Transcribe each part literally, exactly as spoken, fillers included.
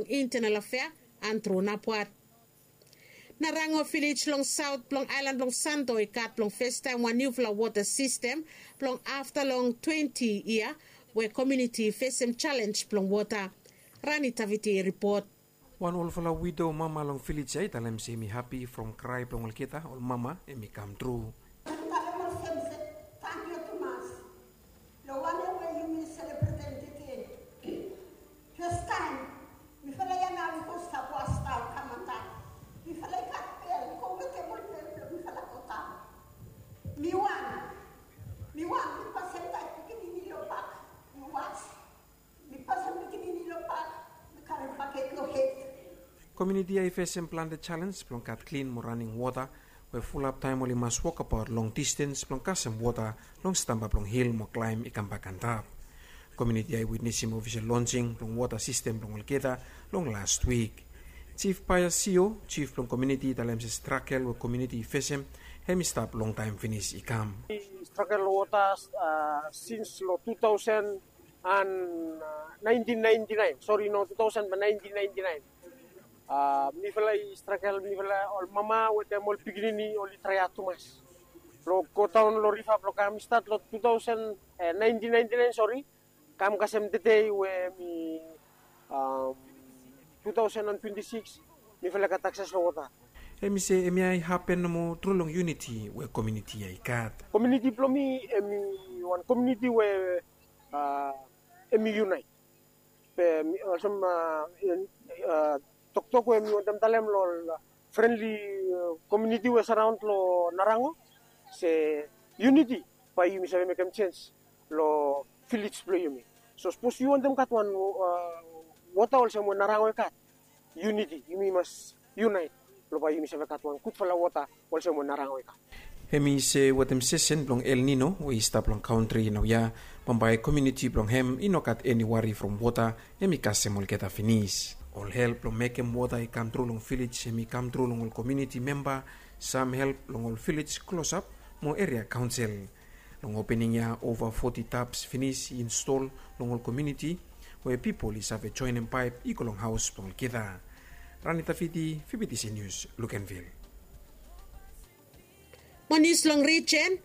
Intenal afea, antru napwat. Narango vilej long saot blong aelan blong santo i gat blong festaem wan niufala wota sistem blong afta long twenti yia we komiuniti i fesem jalenj blong wota. Rani taviti i ripot. Wan olfala wido mama long vilej ya i talem se mi hapi from krae blong olgeta ol mama em i kam tru. Long wan ya we yumi selebretem tede. Festaem mifala ya nao i go stap was nao kam antap. Mifala i gat bel i go wetem ol bel blong mifala go daon. Mi wan mi wan mi pasem taet pikinini long bak. Mi was mi pasem pikinini long bak. Mi karem baket long hed. Komiuniti ya i fesem plante jalenj blong gat klin mo raning wota we fulap taem oli mas wokabaot long distens blong kasem wota long stamba blong hil mo klaem i kambak antap. Komiuniti ya i witnesim ofisel lonsing blong wota sistem blong olgeta long last wik. Jif paia sio jif blong komiuniti i talem se stragel we komiuniti i fesem hem i stap longtaem finis i kam. Stragel wota sins long tu taosen an naentin naenti naen sori no tu taosen ba naentin naenti naen. Mifala i stragel mifala ol mama wetem ol pikinini oli traeat tumas blong godaon long riva blong kam i stat long tu taosen naentin naenti naen sori kam kasem tede we mi tu taosen an twenti sikis. Mifala i gat akses long wota. Hem i se hemia i hapen nomo tru long yuniti we komiuniti ya i gat. Komiuniti blong mi hem i wan komiuniti we hem i yunaet. Be olsem toktok we mi wantem talem long ol frenli komiuniti we saraon long narango se yuniti bae yumi save mekem jens long vilej blong yumi. So sapos yu wantem gat wan wota olsem we narango i gat yuniti yumi mas yunaet blong bae yumi save gat wan gudfala wota olsem we narango i gat. Hem i se wetem sesen blong el nino we i stap long kantri naoia bambae komiuniti blong hem i no gat eni wari from wota. Hem i kasem olgeta finis ol help blong mekem wota i kam tru long vilej hem i kam tru long ol komiuniti memba, sam help long ol vilej klosap mo eria kaonsel. Long opening ya ova foti taps finis i instol long ol komiuniti we pipol i save joenem paep i go long haos blong olgeta. Rani tafiti, fibitisi nius lukenvil. Mo nius long rijen.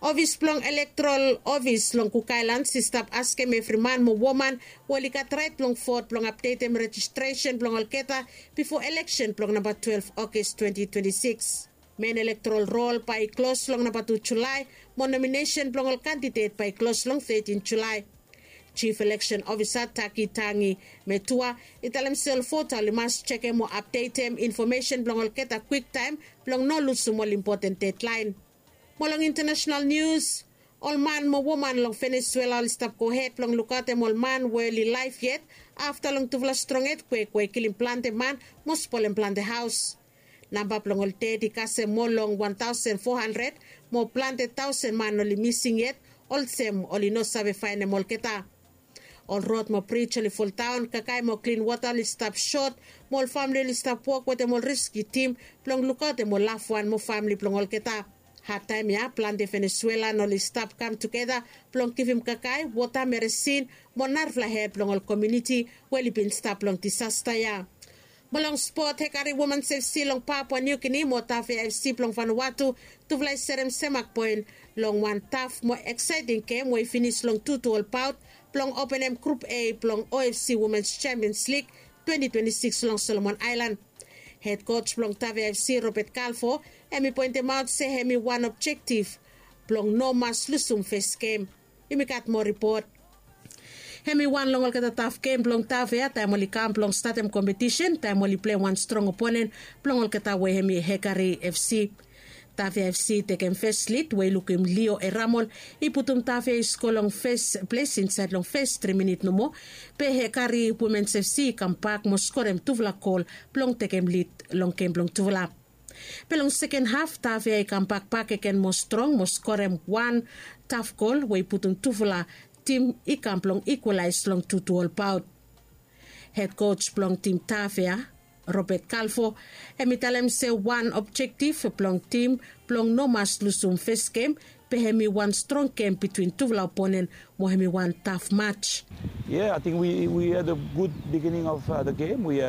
Ofis blong elektorol ofis long kuk aelans i stap askem evri man mo woman we oli gat raet blong vot blong apdetem rejistresen blong olgeta bifo eleksen blong namba twelef ogas twenti twenti sikis. Men elektorol rol bae i klos long namba tu julae mo nominesen blong ol kandidet bae i klos long tetin julae. Jif eleksen ofisa taki tangi metua i talem se ol vota oli mas jekem mo apdetem infomesen blong olgeta kwiktaem blong no lusum ol impoten dedlaen. Mo long intanesenal nius, ol man mo woman long venesuela oli stap gohed blong lukaotem ol man we oli laef yet afta long tufala strong etkwek we i kilim plante man mo spolem plante haos. Namba blong ol ded i kasem moa long wan taosen fo handred mo plante taosen man oli mising yet olsem oli no save faenem olgeta. Ol rod mo brij oli foldaon kakae mo klin wota oli stap sot mo ol famle oli stap wok wetem ol riski tim blong lukaotem ol lafwan mo famle blong olgeta. Hadtaem ya plante venesuelan oli stap kam tugeta blong givim kakae wota meresin mo narafala hed blong ol komiuniti we oli bin stap long disasta ya. Mo long spot hekari woman sefsi long papua niukini mo tafea efsi blong vanawatu tufala i serem semak poen long wan taf mo eksaeting gem we i finis long tutu ol paot blong openem grup a blong ofc womens champions lig twenti twenti sikis long solomon aelan. Hed koj blong tafea efsi robet kalfo hem i poentemaot se hem i wan objektif blong no mas lusum fes gem. Yumi gat moa ripot. Hem i wan long olgeta taf gem blong tafea taem oli kam blong statem kompetisen taem oli plei wan strong oponen blong olgeta we hem i hekari efsi. Tafea efsi i tekem fes lid we i lukim lio eramol i putum tafea i sko long fes ples insaed long fes tri minit nomo. Be hekari womens efsi i kambak mo skorem tufala gol blong tekem lid long gem blong tufala. Be long seken haf tafea i kambak bakegen mo strong mo skorem wan taf gol we i putum tufala tim i kam blong ikwalaes long tutu ol paot. Hed koj blong tim tafea robet kalfo hem i talem se wan objektif blong tim blong no mas lusum fes gem be hem i wan strong gem bitwin tufala oponen mo hem i wan taf maj. Yeah, I think we, we had a good beginning of uh, the game. We, uh,